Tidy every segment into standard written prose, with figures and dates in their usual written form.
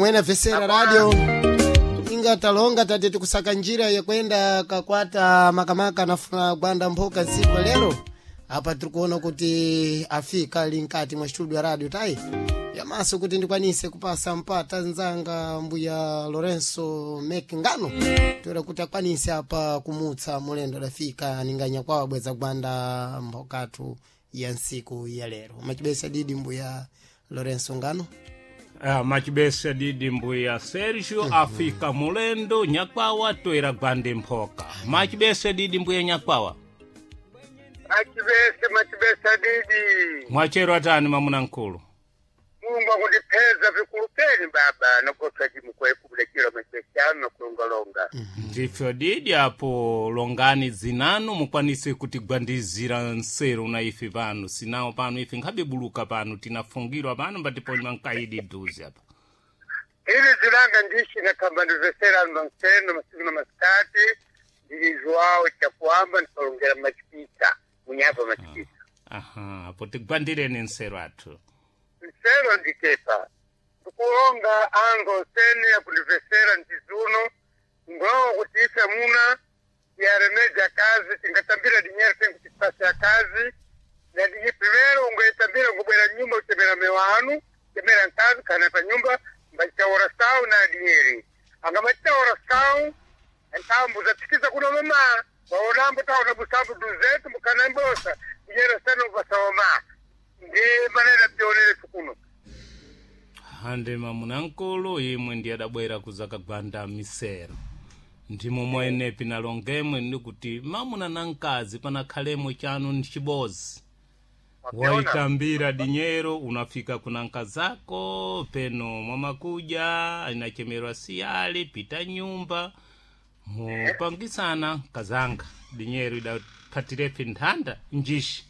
Pomwe na vesera radio inga talonga tate tikusaka njira yakwenda kakwata makamaka nafuna gwanda mphoka tsiku lero apa tirikuona kuti afika ali mkati mwa studio ya radio tai yamaso kuti ndikwanise kupasa mpata nzanga mbuya Lorenzo Mekingano toera kuti akwanise apa kumutsa mulendo adafika ninganya kwawo bweza gwanda mphokatu ya nsiku ya lero machibesa didi mbuya Lorenzo Ngano. Ah, machibesa didi mbuya Sergio afika mulendo nyakwawa toera gwande mphoka. Machibesa didi mbuya nyakwawa. Machibese, machibesa didi. Mwachero atani mamuna nkulu. Mulungu akundipeza vikulupeni baba nokotwa chimukwe kubulekira machibesa ano nokulongalonga. Ndifyo didi apo longani zinanu mukwanise kutigwandizira nseru na ife pano sinawo pano ife nkhabibuluka pano tinafungirwa pano mbatiponywa nkaidi duzi apa. Ili zilanga ndishi nakamba ndivesera anu nseno masiku na masikati ndili Joao chakuamba ndikalongera machipisa munyapa machipisa. Aha, apo tigwandireni nseru athu. Nsero ndikepa ndikulonga ango nsene yakundivesera ndizuno ngulonga kuti ife muna tiyaremeja kazi tingatambira dinyere tenkutisasa ya kazi na dinyi primero ungoitambira ngubwera nyumba utemera mewanu temera nkazi kana pa nyumba mbachitaura sau na dinyeri angamachitaura sau ntambu zatikiza kuno mama waonambo taona busambu duzetu mukana mbosa dinyere seno basawoma ndi manena tionere kuno. Hande mamuna nkulu imwe ndi adabwera kuzakagwanda misero ndimo mwenepi nalongemwe ndikuti mamuna na mkazi panakhalemo chanu ndi chibozi. Waitambira dinyero unafika kuna nkazako peno mwamakuja inachemerwa siyali pita nyumba mupangisana nkazanga dinyero idapatirepi nthanda njishi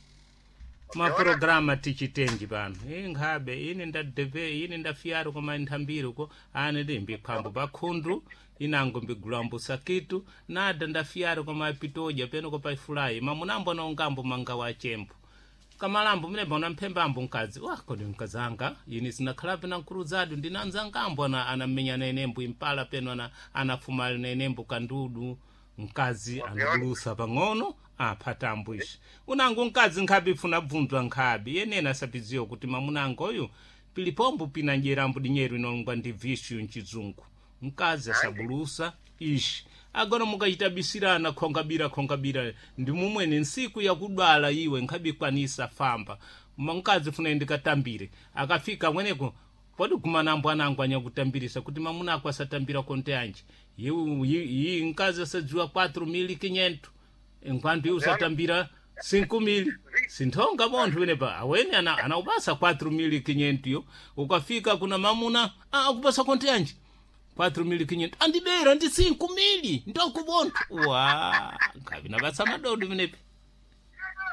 mapurograma tichitenji pano inkhabe ine ndadeve ine ndafiyaro koma nthambiro ko ane ndi mbiphwambo pakhundu inango mbigulambo sakitu nada ndafiyaro koma pitoja peno kopa ifulayi mamunambo anaongambo mangawa achembo kamalambo mene bona mphembambo mkazi wa kodi mkazanga ini sinakhalapo na nkuluzadu ndinanzangambo ana anamenya nenembo impala peno ana anafuma nenembo kandudu mkazi anabulusa pang'ono aphatambo ishi unango mkazi nkhabi ifuna bvunzwa nkhabi yenena asapiziwa kuti mamunango oyu pilipombo pina njerambo dinyeru inolongwa ndi vishu mchizungu mkazi asabulusa ishi agona mukachitabisirana khongabira khongabira ndi mumwene nsiku yakudwala iwe nkhabikwanisa famba mkazi funa ndikatambire akafika mweneko podi kumanambo anango anyakutambirisa kuti mamuna ako asatambira konte anje yi mkazi asadziwa 4.500 enquanto iwe usatambira 5.000 sinthonga bonthu penepa awene anaupasa 4.500 yo ukafika kuna mamuna akupasa konte anje 4.500 andibera ndi 5.000 ndokubonthu wa nkhavi napasa madodo penepa.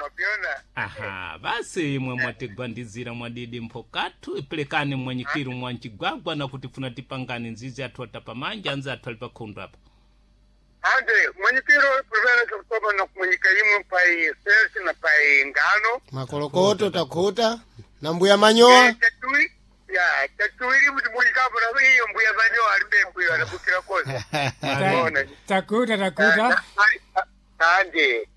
Mapiona. Aha, basi imwe mwatigwandizira mwadidi mphokathu ipelekani mwanyikiru mwanchigwagwa nakuti funa tipangani nzizi athu atapamanja anzi athu ali pakhundu apa. Ande mwenyekiro primero kutoka na kumwenyeka imwe pai selsi na pai ngano. Makolokoto takhuta na mbuya manyowa. Chatui ya chatuili mtu mwenyekapo na hiyo mbuya manyoa alimbe mbuya anabukira kosa. Ona. Takuta takuta. Ande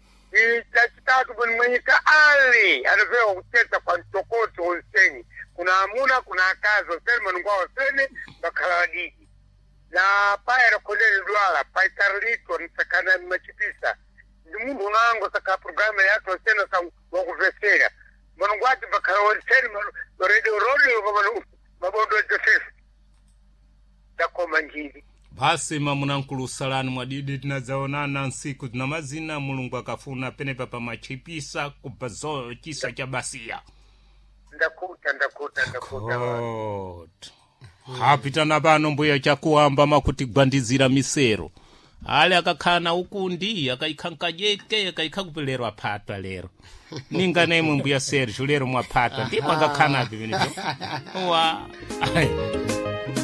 chachitatu buni mwenyeka ali anapewa kuteta kwa mtokoto onseni kuna amuna kuna akazi onseni manungwa onseni bakhala wadidi na paya rakolele dwala paitarlito nsakana machipisa ndi munthu unango saka programa yathu onseni sa wakuvesera manungwati bakhala onseni radio radio kama mabondo Joseph dakoma njiri. Basi mamunankulu salani mwadidi tinadzaonana nsiku zina mazina mulungu akafuna penepa pamachipisa kubva zo chisa cha basiya. Ndakuta ndakuta ndakuta. God. Hapitana pano mbuya chakuamba makutigwandizira misero ale akakhala na ukundi akaikha nkajeke akaikha kupelero aphatwa lero ninga nemwe mbuya Sergio lero mwaphatwa ndipo akakhanapi penepo wa.